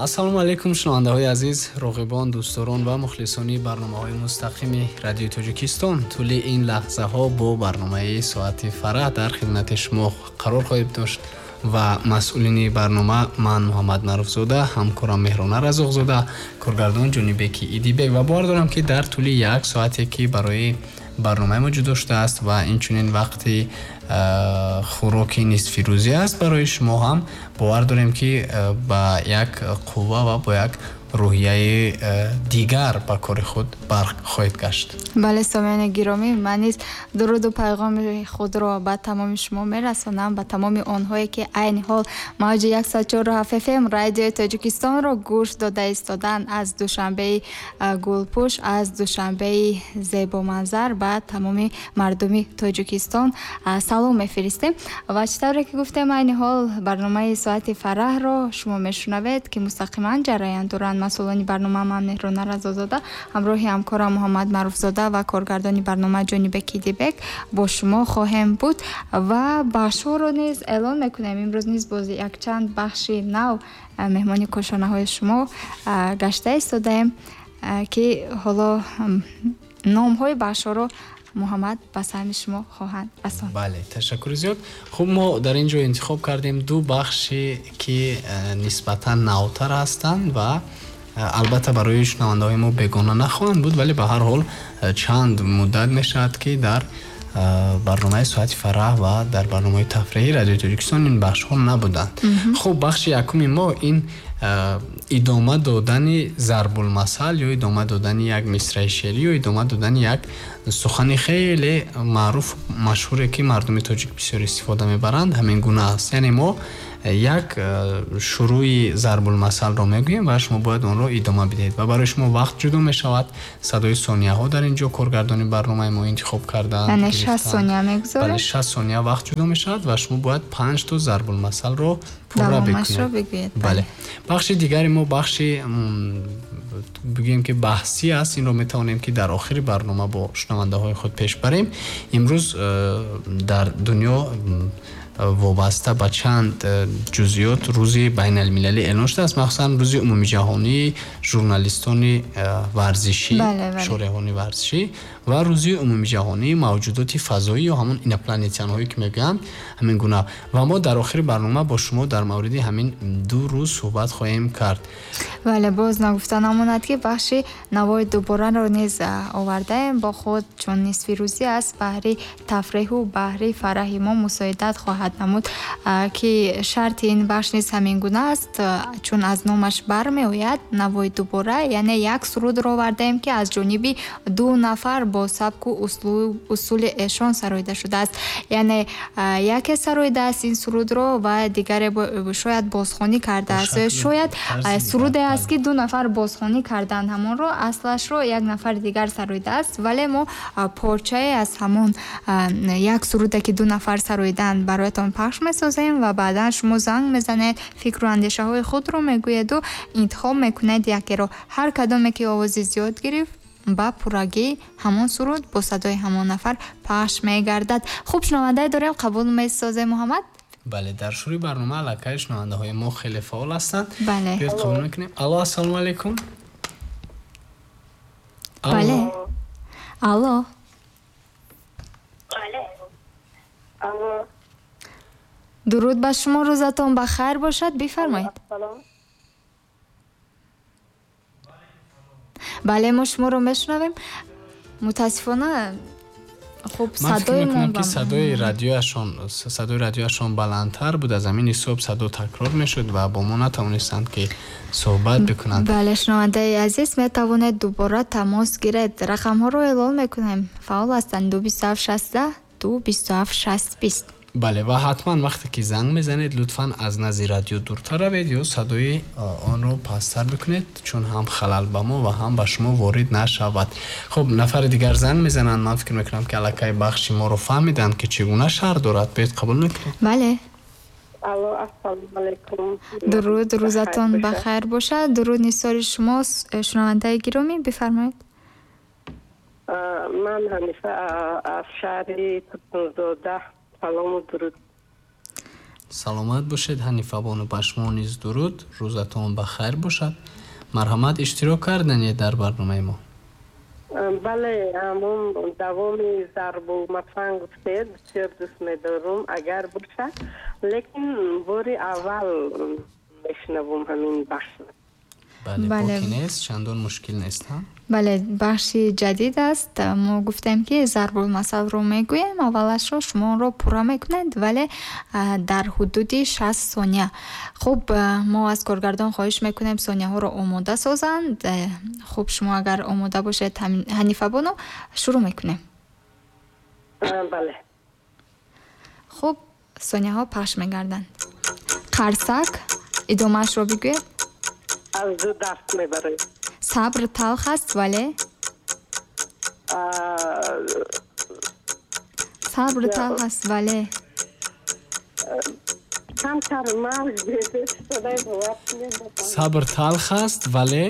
Ассалому алайкум, шунавандаҳои азиз, роғибон, дӯстдорон ва мухлисони барномаҳои мустақими Радиои Тоҷикистон. Тӯли ин лаҳзаҳо бо барномаи Соати фараҳ дар хидмати шумо қарор хоҳем дошт ва масъулини барнома ман Муҳаммад Маъруфзода, ҳамкорам Меҳрона Разоқзода, коргардон Ҷонибеки Идибек ва бовар дорам, ки дар тӯли як соате, ки барои барномаи мо ҷудо шудааст ва инчунин вақти хӯроки нисфирӯзӣ аст барои шумо ҳам, бовар дорем, ки ба як қувва ва бо як рӯҳияи дигар ба кори худ барқ хоҳед гашт. Бале, сомиёни гиромӣ, ман низ дуруду пайғоми худро ба тамоми шумо мерасонам, ба тамоми онҳое, ки айни ҳол мавҷи 104,7 фм Радиои Тоҷикистонро гӯш дода истоданд. Аз Душанбеи гулпӯш, аз Душанбеи зебоманзар ба тамоми мардуми Тоҷикистон салом мефиристем. Ва чӣ тавре ки гуфтем, айни ҳол барномаи Соати фараҳро шумо мешунавед, ки мустақиман ҷараён доранд. Масъулони барнома ман, Меҳрона Разозода, ҳамроҳи ҳамкорам Муҳаммад Маъруфзода ва коргардони барнома Ҷонибек Идибек бо шумо хоҳем буд ва бахшҳоро низ эълон мекунем. Имрӯз низ боз якчанд бахши нав меҳмони кошонаҳои шумо гашта истодаем, ки ҳоло номҳои бахшҳоро Муҳаммад ба самъи шумо хоҳанд расонд. Бале, ташаккури зиёд. Хуб, мо дар ин ҷо интихоб кардем ду бахше, ки нисбатан навтар ҳастанд ва албатта барои шунавандаҳои мо бегона нахоҳанд буд, вале ба ҳар ҳол чанд муддат мешавад, ки дар барномаи Соати фараҳ ва дар барномаи тафриҳии Радиои Тоҷикистон ин бахшҳо набуданд. Хуб, бахши якуми мо ин идома додани зарбулмасал ё идома додани як мисраи шеърӣ ё идома додани як сухани хеле маъруф, машҳуре, ки мардуми тоҷик бисёр истифода мебаранд, ҳамин гуна аст. Яъне мо як шурӯи зарбулмасалро мегӯем ва шумо бояд онро идома бидиҳед ва барои шумо вақт ҷудо мешавад. Садои сонияҳо дар ин ҷо коргардони барномаи мо интихоб карданд. Яъне 60 сония мегузорем? Бале, 60 сония вақт ҷудо мешавад ва шумо бояд панҷ то зарбулмасалро пурра бикунед. Бале, бахши дигари мо бахши бигӯем, ки баҳсӣ аст. Инро метавонем, ки дар охири барнома бо шунавандаҳои худ пеш барем. Имрӯз дар дунё вобаста ба чанд ҷузъиёт рӯзи байналмилалӣ эълон шудааст, махсусан рӯзи умумиҷаҳонии журналистони варзишӣ, шореҳони варзишӣ ва рӯзи умумиҷаҳонии мавҷудоти фазоӣ ё ҳамон инопланетянҳое, ки мегӯянд, ҳамин гуна. Ва мо дар охири барнома бо шумо дар мавриди ҳамин ду рӯз суҳбат хоҳем кард. Бале, боз нагуфта намонад, ки бахши Навои дубораро низ овардаем бо худ, чун нисфирӯзӣ аст, баҳри тафреҳу баҳри фараҳи мо мусоидат хоҳад намуд, ки шарти ин бахш низ ҳамин гуна аст, чун аз номаш бармеояд, Навои дубора, яъне як сурудро овардаем, ки аз ҷониби ду нафар бо сабку усули эшон сароида шудааст. Яъне яке сароидааст ин сурудро ва дигаре шояд бозхонӣ кардааст. Шояд суруде аст, ки ду нафар бозхонӣ карданд ҳамонро, аслашро як нафари дигар сароидааст, вале мо порчае аз ҳамон як суруде, ки ду нафар сароиданд, бароятон пахш месозем ва баъдан шумо занг мезанед, фикру андешаҳои худро мегӯеду интихоб мекунед якеро. Ҳар кадоме ки овози зиёд гирифт, ба пуррагӣ ҳамон суруд бо садои ҳамон нафар пахш мегардад. Хуб, шунавандае дорем, қабул месозем, Муҳаммад. Бале, дар шурӯи барнома аллакай шунавандаҳои мо хеле фаъол ҳастанд. Бале. Биёед, қабул мекунем. Алло, ассалому алайкум. Бале, алло. Алло. Дуруд ба шумо, рӯзатон ба хайр бошад, бифармоед. Салом. Бале, мо шуморо мешунавем. Мутаассифона, хуб, Ман фикр садои мекунам, мо ки садои радиояшон баландтар буд, аз ҳамин ҳисоб садо такрор мешуд ва бо мо натавонистанд, ки суҳбат бикунанд. Бале, шунавандаи азиз, метавонед дубора тамос гиред. Рақамҳоро эълон мекунем, фаъол ҳастанд: 2 27 60, 2 27 60 20. Бале, ва ҳатман вақте ки занг мезанед, лутфан аз назди радио дуртар равед ё садои онро пасттар бикунед, чун ҳам халал ба мо ва ҳам ба шумо ворид нашавад. Хуб, нафари дигар занг мезананд. Ман фикр мекунам, ки аллакай бахши моро фаҳмиданд, ки чӣ гуна шарт дорад. Биёед, қабул мекунем. Бале. Алло, ассалому алайкум. Дуруд, рӯзатон Бахайр ба бошад. хайр бошад. Дуруд нисори шумо, шунавандаи гиромӣ, бифармоед. Ман Ҳанифа, аз шаҳри Турсунзода салому дуруд. Саломат бошед, Ҳанифабону, ба шумо низ дуруд, рӯзатон ба хайр бошад. Марҳамат, иштирок карданед дар барномаи мо. Бале, ҳамон давоми зарбулмасал гуфтед, бисёр дӯст медорум, агар бошад, лекин бори аввал мешунавум ҳамин бахш. Бале, Бале. Боки нест, чандон мушкил нест, ҳа? Бале, бахши ҷадид аст. Мо гуфтем, ки зарбулмасалро мегӯем, аввалашро шумо онро пурра мекунед, вале дар ҳудуди 60 сония. Хуб, мо аз коргардон хоҳиш мекунем, сонияҳоро омода созанд. Хуб, шумо агар омода бошед, Ҳанифабону, шурӯъ мекунем. Бале. Хуб, сонияҳо пахш мегарданд. Қарсак, идомаашро бигӯед. Аз ду даст мебарем. Сабр талх аст, вале сабр талх аст, вале Камтар мавҷ садои бовар кунед. Сабр талх аст, вале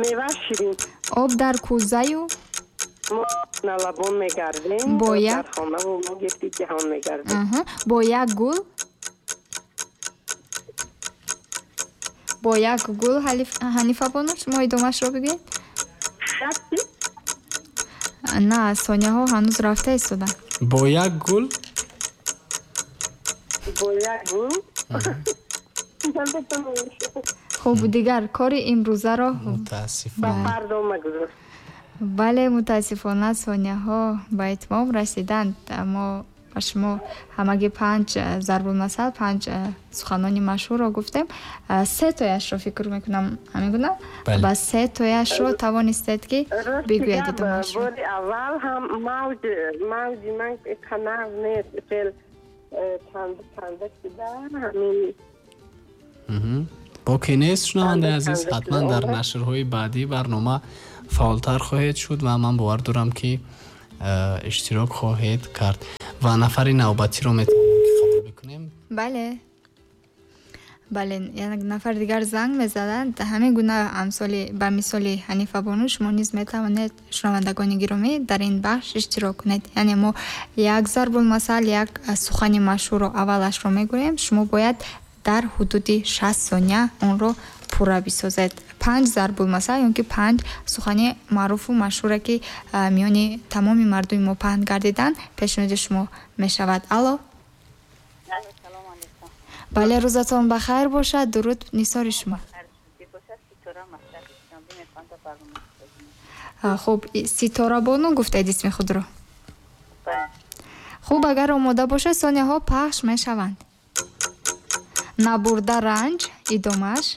Мева ширин. Об дар кӯзаю Мо налабон мегардем. Бо як Дар хонаву мо гирди ҷаҳон мегардем. Аҳа. Бо як гул, бо як гул, Ҳанифабону, шумо идомаашро бигӯед. Як? На, сонияҳо ҳанӯз рафта истоданд. Бо як гул. Бо як гул. Наметавонам. Хуб, дигар кори имрӯзаро Ба Мутаассифона. фардо магузор. Бале, мутаассифона, сонияҳо ба итмом расиданд. Мо ба шумо ҳамагӣ панҷ зарбулмасал, панҷ суханони машҳурро гуфтем. Се тояшро, фикр мекунам, ҳамин гуна, Бале. ба се тояшро тавонистед, ки Рости бигӯед гап, идомаашро. Бори аввал ҳам мавҷи ман канав нест, хел танда танда шуда ҳамин. Боке нест, шунавандаи Танда азиз, танда ҳатман шуда дар омад. нашрҳои баъдии барнома фаъолтар хоҳед шуд ва ман бовар дорам, ки иштирок хоҳед кард ва нафари навбатиро метавонем, ки қабул бикунем. Бале, як нафар дигар занг мезаданд. Ҳамин гуна, амсоли ба мисоли Ҳанифабону, шумо низ метавонед, шунавандагони гиромӣ, дар ин бахш иштирок кунед. Яъне мо як зарбулмасал, як сухани машҳурро аввалашро мегӯем, шумо бояд дар ҳудуди 60 сония онро пурра бисозед. Панҷ зарбулмасал ё ки панҷ сухани маъруфу машҳуре, ки миёни тамоми мардуми мо паҳн гардиданд, пешниҳоди шумо мешавад. Алло. Салом алейкум. Бале, рӯзатон ба хайр бошад, дуруд нисори шумо. Бошад, Ситора, Мактаби Душанбе, мехоҳам дар барнома иштирок. Хуб, Ситорабону гуфтед исми худро? Бале. Хуб, агар омода бошад, сонияҳо пахш мешаванд. Набурда ранҷ, идомааш.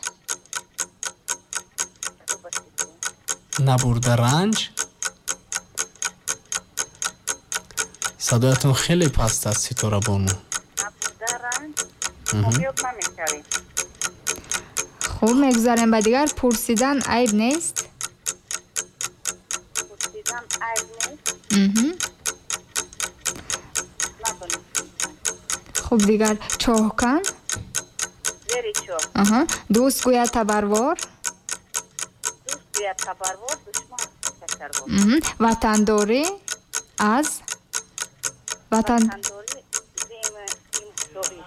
Набурда ранҷ. Садоятон хеле паст аст, Ситорабону. Набурда ранҷ комёб намешавем. Хуб, мегузарем ба дигар. Пурсидан айб нест. Пурсидан айб нест. Надонистем. Хуб, дигар: чоҳкан. Зери чоҳ. Аҳа. Дӯст гӯяд табарвор. Дӯст гӯяд табарвор, душман шакарвор. Ватандорӣ аз ватан Ватандорӣ зимдорӣ.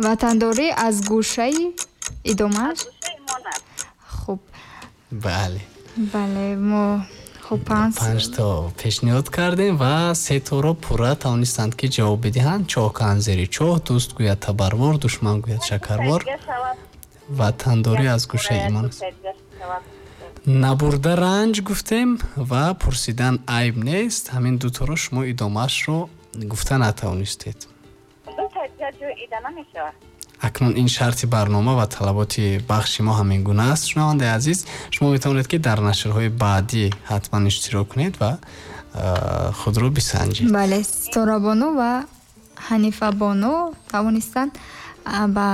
Ватандорӣ аз гӯшаи, идомааш. Аз гӯшаи монад. Хуб. Бале. Бале, мо хуб панҷ Панҷто пешниҳод кардем ва сеторо пурра тавонистанд, ки ҷавоб бидиҳанд: чоҳкан зери чоҳ, дӯст гӯяд табарвор, душман гӯяд шакарвор, Дигар шавад. ватандорӣ аз гӯшаи имон аст. Дигар шавад. Набурда ранҷ гуфтем ва пурсидан айб нест. Ҳамин дуторо шумо идомаашро гуфта натавонистед. Ду та дигар ҷой ида намешавад. Акнун ин шарти барнома ва талаботи бахши мо ҳамин гуна аст. Шунавандаи азиз, шумо метавонед, ки дар нашрҳои баъдӣ ҳатман иштирок кунед ва худро бисанҷед. Бале, Ситорабону ва Ҳанифабону тавонистанд ба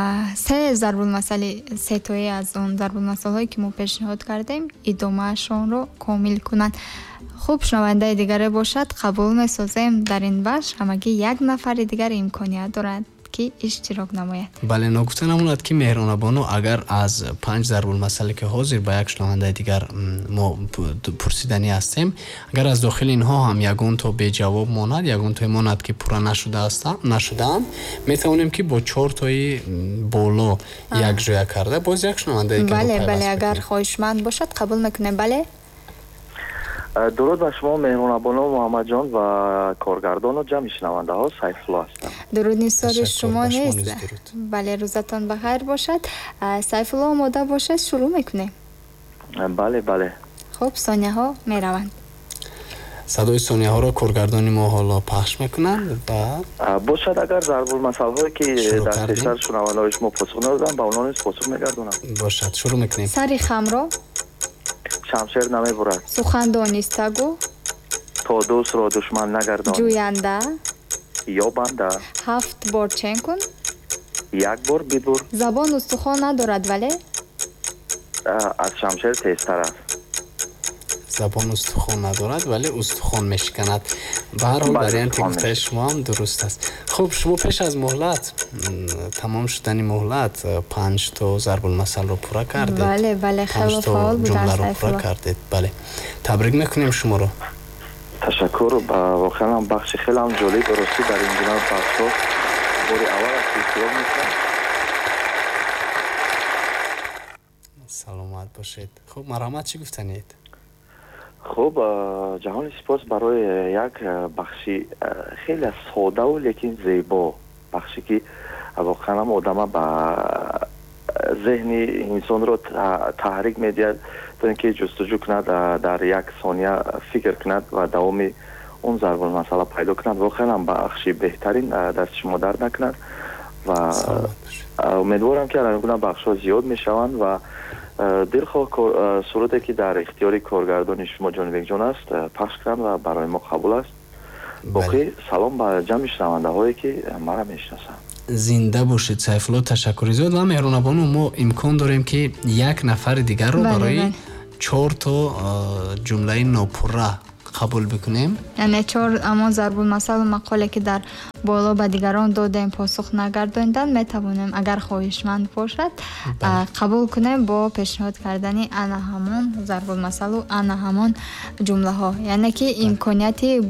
се зарбулмасали, сетои аз он зарбулмасалҳое, ки мо пешниҳод кардем, идомаашонро комил кунанд. Хуб, шунавандаи дигаре бошад, қабул месозем. Дар ин бахш ҳамагӣ як нафари дигар имконият дорад. ки иштирок намояд. Бале, ногуфта намонад, ки Меҳронабону, агар аз панҷ зарбулмасале, ки ҳозир ба як шунавандаи дигар мо пурсиданӣ ҳастем, агар аз дохили инҳо ҳам ягон то беҷавоб монад, ягон тое монад, ки пурра нашудаанд, метавонем, ки бо чортои боло якҷоя карда боз як шунавандаи дигарро Бале, пайваст бале, агар мекунем. хоҳишманд бошад, қабул мекунем, бале. Дуруд ба шумо, Меҳрунабону, Муҳаммадҷон ва коргардону ҷамъи шунавандаҳо. Сайфулло ҳастам. Дуруд нисори Ташаккур, шумо ба шумо низ. низ дуруд. Бале, рӯзатон ба хайр бошад. Сайфулло, омода бошад, шурӯъ мекунем. Бале, бале. Хуб, сонияҳо мераванд. Садои сонияҳоро коргардони мо ҳоло пахш мекунанд ва Бошад, агар зарбулмасалҳое, ки Шурӯъ дар кардем. пештар шунавандаҳои шумо посух надодам, ба онҳо низ посух мегардонам. Бошад, шурӯъ мекунем. Сари хамро шамшер намебурад. Сухан донистагу то дӯстро душман нагардонӣ. Ҷӯянда ё банда. Ҳафт бор чен кун. Як бор бибур. Забон устухон надорад, вале аз шамшер тезтар аст. Забон устухон надорад, вале устухон мешиканад. Ба ҳар ҳол, Бале, варианти устухон гуфтаи мешиканад. шумо ҳам дуруст аст. Хуб, шумо пеш аз муҳлат, тамом шудани муҳлат, панҷ то зарбулмасалро пурра кардед. Бале, бале, Панҷ хело то фаъол буданд ҷумларо пурра Сайфулло. кардед. Бале, табрик мекунем шуморо. Ташаккур. Воқеан ҳам бахши хеле ҳам ҷолиб. Ростӣ, дар ин гуна бахшҳо бори аввал аст, ки иштирок мекунам. Саломат бошед. Хуб, марҳамат, чӣ гуфтанед? Хуб, ҷаҳони сипос барои як бахши хеле содаву лекин зебо, бахше, ки воқеан ҳам одама ба зеҳни инсонро таҳрик медиҳад, то ин ки ҷустуҷӯ кунад, дар як сония фикр кунад ва давоми он зарбулмасала пайдо кунад. Воқеан ҳам бахши беҳтарин, дасти шумо дард накунад ва Саломат бошед. Умедворам, ки ин гуна бахшҳо зиёд мешаванд ва дилхоҳ суруде, ки дар ихтиёри коргардони шумо Ҷонибекҷон аст, пахш кунанд ва барои мо қабул аст. Боқӣ салом ба ҷамъи шунавандаҳое, ки мара мешиносанд. Зинда бошед, Сайфулло, ташаккури зиёд. Ва Меҳрунабону, мо имкон дорем, ки як нафари дигарро барои чор то ҷумлаи нопурра қабул бикунем. Яъне чор ҳамон зарбулмасалу мақоле, ки дар боло ба дигарон додем, посух нагардонидан, метавонем, агар хоҳишманд бошад, қабул кунем бо пешниҳод кардани ана ҳамон зарбулмасалу ана ҳамон ҷумлаҳо. Яъне ки имконияти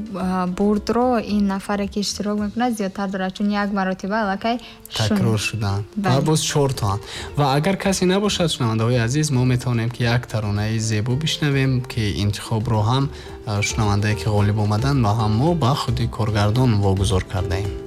бурдро ин нафаре, ки иштирок мекунад, зиёдтар дорад, чун як маротиба аллакай такрор шудаанд ва боз чортоанд. Ва агар касе набошад, шунавандаҳои азиз, мо метавонем, ки як таронаи зебо бишнавем, ки интихобро ҳам шунавандае, ки ғолиб омаданд, ва ҳам мо ба худи коргардон вогузор кардаем.